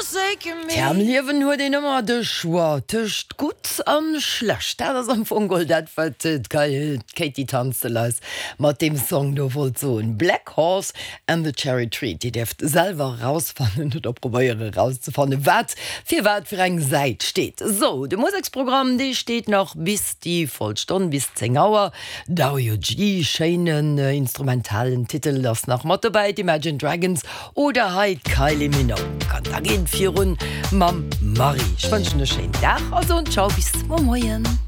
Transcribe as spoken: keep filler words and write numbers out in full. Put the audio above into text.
forsaken me. Tja, am Liewen huet een ëmmer de Choix tëscht gutt an schlecht. Dat ass am Fong geholl dat, wat d'Katie Tunstall eis mat deem Song do wollt soen. Black Horse and the Cherry Tree. Dir däerft selwer erausfannen oder probéieren erauszefannen, wat fir wat fir eng Säit steet. Sou, de Museksprogramm, dee steet nach bis déi voll Stonn, bis zéng Auer. Dario G, schéinen instrumentalen Titel, ass nach mat dobäi, d'Imagine Dragons oder hei d'Kylie Minogue. An da geet et virun mam Marie. Ech wënschen e schéinen Dag a soen Ciao bis muer Moien.